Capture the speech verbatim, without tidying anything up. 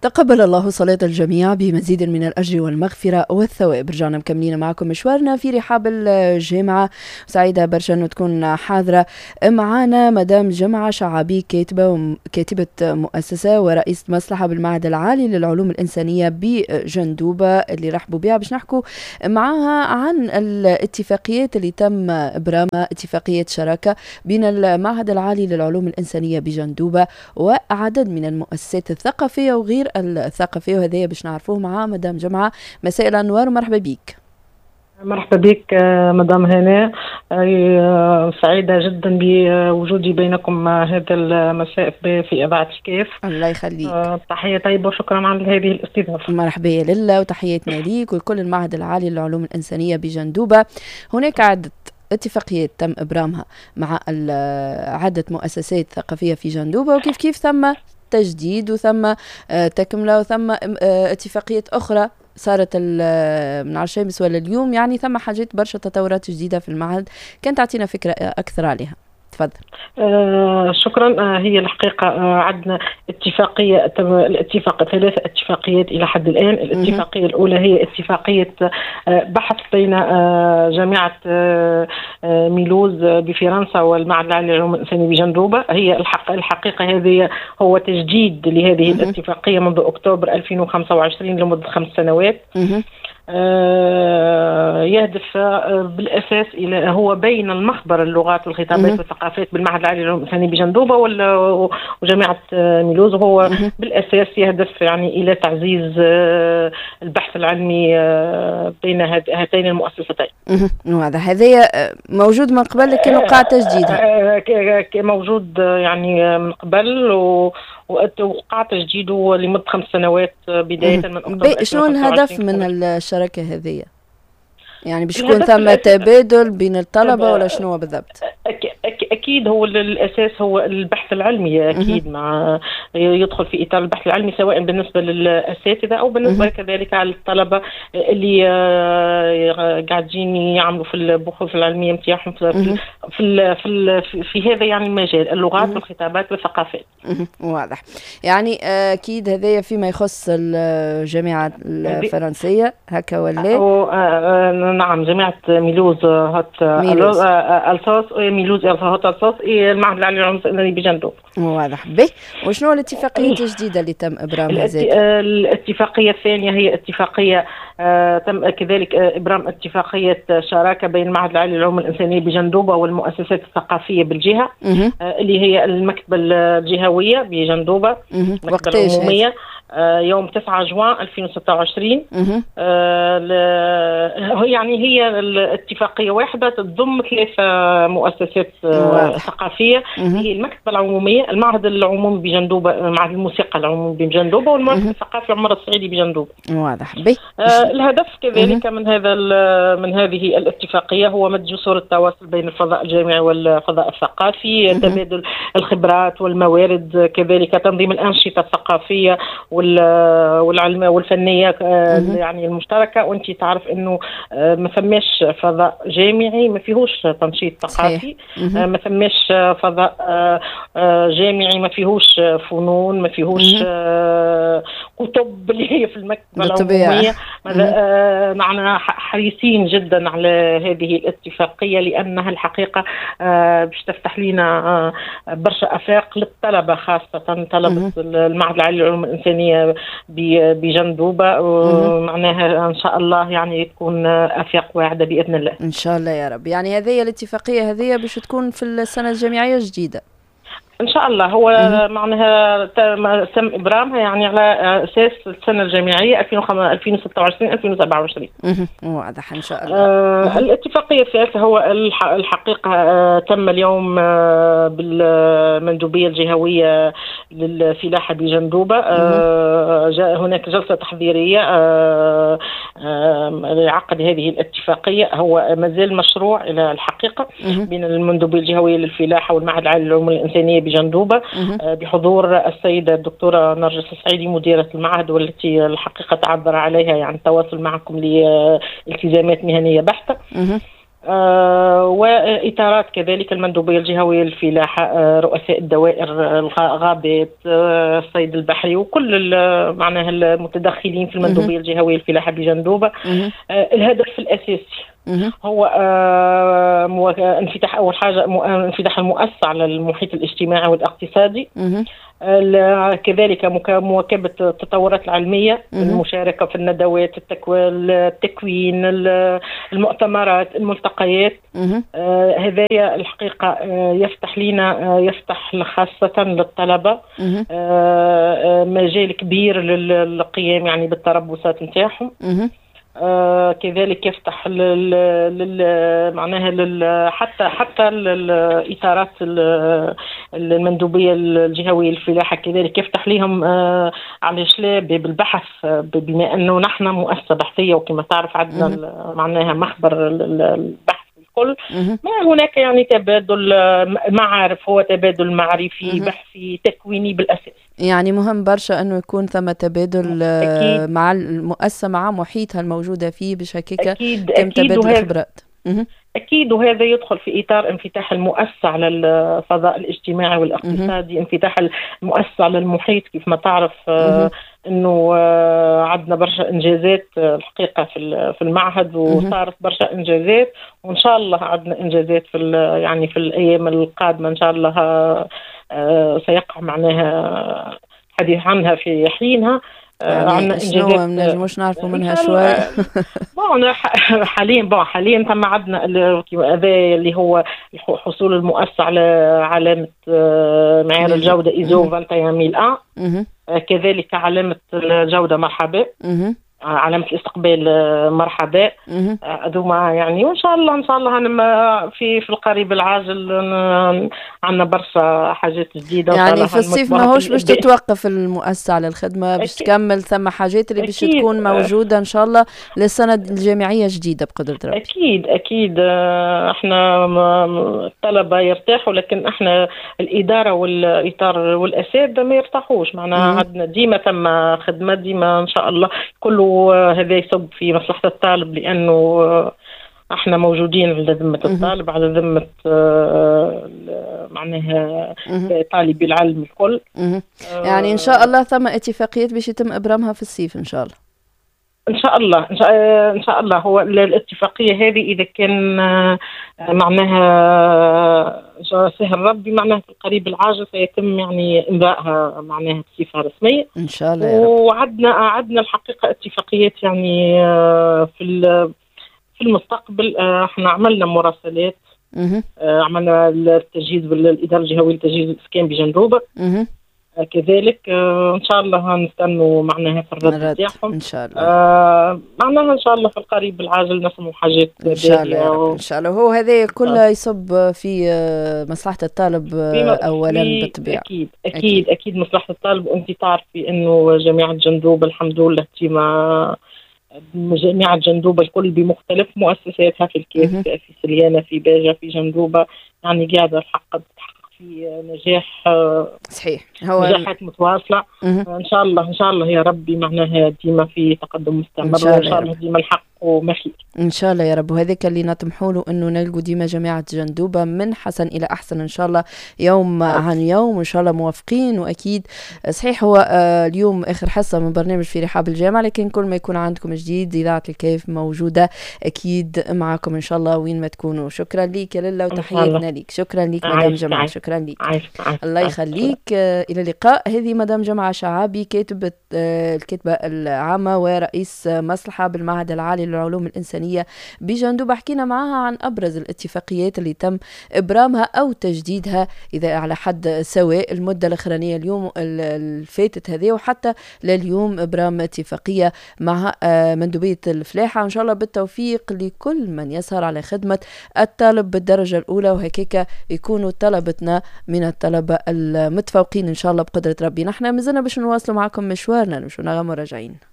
تقبل الله صلاة الجميع بمزيد من الأجر والمغفرة والثواب. رجعنا مكملين معكم مشوارنا في رحاب الجامعة. سعيدة برشا أنه تكون حاضرة معنا مدام جمعة شعابي، كاتبة كاتبة مؤسسة ورئيسة مصلحة بالمعهد العالي للعلوم الإنسانية بجندوبة، اللي رحبوا بها باش نحكوا معاها عن الاتفاقيات اللي تم إبرامها، اتفاقية شراكة بين المعهد العالي للعلوم الإنسانية بجندوبة وعدد من المؤسسات الثقافية وغير الثقافية، وهذايا باش نعرفوه مع مدام جمعة. مساء الأنوار ومرحبا بك. مرحبا بك مدام هناء، سعيدة جدا بوجودي بينكم هذا المساء في إذاعة الكاف. الله يخليك. تحية طيبة وشكرا على هذه الاستضافة. مرحبا يا لله، وتحياتنا ليك ولكل المعهد العالي للعلوم الإنسانية بجندوبة. هناك عدة اتفاقيات تم إبرامها مع عدة مؤسسات ثقافية في جندوبة، وكيف كيف ثم تجديد وثم تكملة وثم اتفاقيات أخرى صارت من عشرة ولا اليوم، يعني ثم حاجات برشا تطورات جديدة في المعهد، كانت تعطينا فكرة أكثر عليها. تفضل. آه شكرا. آه هي الحقيقة آه عندنا اتفاقية، الاتفاق ثلاث اتفاقيات إلى حد الآن. الاتفاقية الأولى هي اتفاقية آه بحث بين آه جامعة آه ميلوز بفرنسا والمعهد العالي للعلوم الإنسانية بجندوبة. هي الحق الحقيقة هذه هو تجديد لهذه الاتفاقية منذ أكتوبر ألفين وخمسة وعشرين لمدة خمس سنوات. يهدف بالأساس إلى هو بين المخبر اللغات والخطابات والثقافات بالمعهد العالي للعلوم الإنسانية بجندوبة وجامعة ميلوز، وهو بالأساس يهدف يعني إلى تعزيز البحث العلمي بين هاتين المؤسستين. وهذا هذا موجود من قبل لكن وقع تجديدها. موجود يعني من قبل و وقع تجديده لمدة خمس سنوات بداية من أكتوبر. شنو الهدف من الشراكة هذه؟ يعني باش يكون ثم تبادل بين الطلبة ولا شنو بالضبط؟ أكيد هو الأساس هو البحث العلمي، أكيد مع يدخل في إطار البحث العلمي سواء بالنسبة للأساتذة أو بالنسبة كذلك على الطلبة اللي قاعدين يعملوا في البحوث العلمية نتاعهم في في في, في هذا يعني المجال، اللغات والخطابات والثقافات. واضح. يعني أكيد هذايا فيما يخص الجامعة الفرنسية هكا ولا؟ نعم، جامعة ميلوز هات ألساس، ميلوز هات ألساس، المعهد العالي للعلوم الإنسانية بجندوبة. واضح. به وشنو الاتفاقية الجديدة اللي تم إبرامها زاد؟ الاتفاقية الثانية هي اتفاقية آه تم كذلك إبرام اتفاقية شراكة بين المعهد العالي للعلوم الإنسانية بجندوبة والمؤسسات الثقافية بالجهة، آه اللي هي المكتبة الجهوية بجندوبة، المكتبة العمومية، آه يوم تسعة جوان ألفين وستة وعشرين. آه يعني هي الاتفاقية واحدة تضم ثلاث مؤسسات آه ثقافية، هي المكتبة العمومية، المعهد العمومي بجندوبة، معهد الموسيقى العمومي بجندوبة، والمعهد الثقافي عمر السعيدي بجندوبة. واضح. به آه الهدف كذلك من هذا من هذه الاتفاقية هو مد جسور التواصل بين الفضاء الجامعي والفضاء الثقافي، تبادل الخبرات والموارد، كذلك تنظيم الأنشطة الثقافية والعلمية والفنية يعني المشتركة. وانت تعرف انه ما ثماش فضاء جامعي ما فيهوش تنشيط ثقافي، ما ثماش فضاء جامعي ما فيهوش فنون، ما فيهوش كتب اللي هي في المكتبة العمومية. نحن حريصين جدا على هذه الاتفاقية لأنها الحقيقة باش تفتح لنا برشا آفاق للطلبة، خاصة طلبة المعهد العالي للعلوم الإنسانية بجندوبة، معناها إن شاء الله يعني تكون آفاق واعدة بإذن الله. إن شاء الله يا رب. يعني هذه الاتفاقية هذه باش تكون في السنة الجامعية الجديدة إن شاء الله. هو معناها تم إبرامها يعني على أساس السنة الجامعية ألفين وستة وعشرين ألفين وسبعة وعشرين. واضح إن شاء الله. آه الاتفاقية الثالثة هو الحقيقة آه تم اليوم آه بالمندوبية الجهوية للفلاحة بجندوبة، آه جاء هناك جلسة تحضيرية آه آه لعقد هذه الاتفاقية. هو مازال مشروع إلى الحقيقة بين المندوبية الجهوية للفلاحة والمعهد العالي للعلوم الإنسانية بجندوبة، بحضور السيدة الدكتورة نرجس السعيدي مديرة المعهد، والتي الحقيقة تعذر عليها يعني التواصل معكم لالتزامات مهنية بحتة. آه وإطارات كذلك المندوبية الجهوية للفلاحة، آه رؤساء الدوائر، الغابات، آه الصيد البحري، وكل معناها المتدخلين في المندوبية الجهوية للفلاحة بجندوبة. آه الهدف الأساسي هو آه انفتاح، أول حاجة انفتاح المؤسسة على المحيط الاجتماعي والاقتصادي، كذلك مواكبة التطورات العلمية، المشاركة في الندوات، التكوين، المؤتمرات، الملتقيات. آه هذايا الحقيقة آه يفتح لنا، آه يفتح خاصة للطلبة آه مجال كبير للقيام يعني بالتربصات نتاعهم. آه كذلك يفتح لل, لل معناها لل حتى حتى الاطارات المندوبيه الجهوية للفلاحه كذلك يفتح لهم آه علاش لا بالبحث، بما انه نحن مؤسسة بحثيه وكما تعرف عندنا معناها مخبر البحث الكل. ما هناك يعني تبادل معارف، هو تبادل معرفي بحثي تكويني بالاساس. يعني مهم برشا انه يكون ثم تبادل أكيد مع المؤسسة، مع محيطها الموجودة فيه، باش هكاك يتم تبادل الخبرات. اكيد، وهذا يدخل في اطار انفتاح المؤسسة على الفضاء الاجتماعي والاقتصادي، انفتاح المؤسسة على المحيط. كيف ما تعرف آه انه آه عندنا برشا انجازات آه الحقيقة في في المعهد، وصارت برشا انجازات، وان شاء الله عندنا انجازات في يعني في الايام القادمة ان شاء الله آه سيقع معناها حديث عنها في حينها. يعني عندنا انجازات ما نجموش نعرفوا منها شوي. bon حاليا bon حاليا ثم عندنا هذا اللي هو حصول المؤسسة على علامة معيار الجودة ايزو واحد وعشرين ألف وواحد، كذلك علامة الجودة مرحبا، علامة الاستقبال مرحبا، هذوما يعني. وان شاء الله ان شاء الله أنا في في القريب العاجل عندنا برشا حاجات جديدة. يعني في الصيف ماهوش باش تتوقف المؤسسة على الخدمة، باش تكمل ثم حاجات اللي باش تكون موجودة ان شاء الله للسنة الجامعية الجديدة بقدره ربي. اكيد اكيد، احنا الطلبة يرتاحوا، لكن احنا الادارة والاطار والاساتذه ما يرتاحوش. معناها عندنا ديما ثم خدمة ديما ان شاء الله، كله هذا يصب في مصلحة الطالب، لأنه احنا موجودين على ذمة الطالب، على ذمة معناها طالبي العلم الكل. يعني إن شاء الله ثم اتفاقيات باش يتم إبرامها في الصيف إن شاء الله. إن شاء الله إن شاء الله. هو الاتفاقية هذه إذا كان معناها سهل ربي معناها في القريب العاجل سيتم يعني إمضائها معناها بصفة رسمية إن شاء الله يا رب. وعدنا عدنا الحقيقة اتفاقيات يعني في في المستقبل. احنا عملنا مراسلات، عملنا التجهيز بالإدارة الجهوية لتجهيز الإسكان بجندوبة كذلك. ان شاء الله نستنوا معناها في الرد تاعهم ان شاء الله. آه معناها ان شاء الله في القريب العاجل نسموا حاجات ان شاء الله و... ان شاء الله. هو هذا كله يصب في مصلحة الطالب اولا بالطبيعة. اكيد اكيد اكيد, أكيد مصلحة الطالب. وانت تعرفي انه جامعه جندوبه الحمد لله ديما جامعه جندوبه الكل بمختلف مؤسساتها في الكاف، في سليانه، في باجه، في جندوبه، يعني قاعدة الحق في نجاح. صحيح، هو نجاحات متواصلة. ان شاء الله ان شاء الله يا ربي معناها ديما في تقدم مستمر، وان شاء الله ديما الحق ومخير ان شاء الله يا رب. وهذاك اللي نطمحوا له انه نلقوا ديما جامعه جندوبه من حسن الى احسن ان شاء الله، يوم عن يوم ان شاء الله موافقين. واكيد صحيح هو اليوم اخر حصة من برنامج في رحاب الجامعة، لكن كل ما يكون عندكم جديد اذاعة الكيف موجودة اكيد معكم ان شاء الله وين ما تكونوا. شكرا لك يا للا وتحياتنا لك. شكرا لك مدام جمعه، شكرا لك، الله يخليك. الى اللقاء. هذه مدام جمعه شعابي، كاتبه الكاتبة العامة ورئيس مصلحة بالمعهد العالي للعلوم الإنسانية بجندوبة. حكينا معها عن أبرز الاتفاقيات اللي تم إبرامها أو تجديدها إذا على حد سواء المدة الأخرانية اليوم الفاتت هذه، وحتى لليوم إبرام اتفاقية مع مندوبية الفلاحة. إن شاء الله بالتوفيق لكل من يسهر على خدمة الطالب بالدرجة الأولى، وهكاك يكونوا طلبتنا من الطلبة المتفوقين إن شاء الله بقدرة ربي. نحن مازلنا باش نواصلوا معكم مشوارنا، نمشوا نغم وراجعين.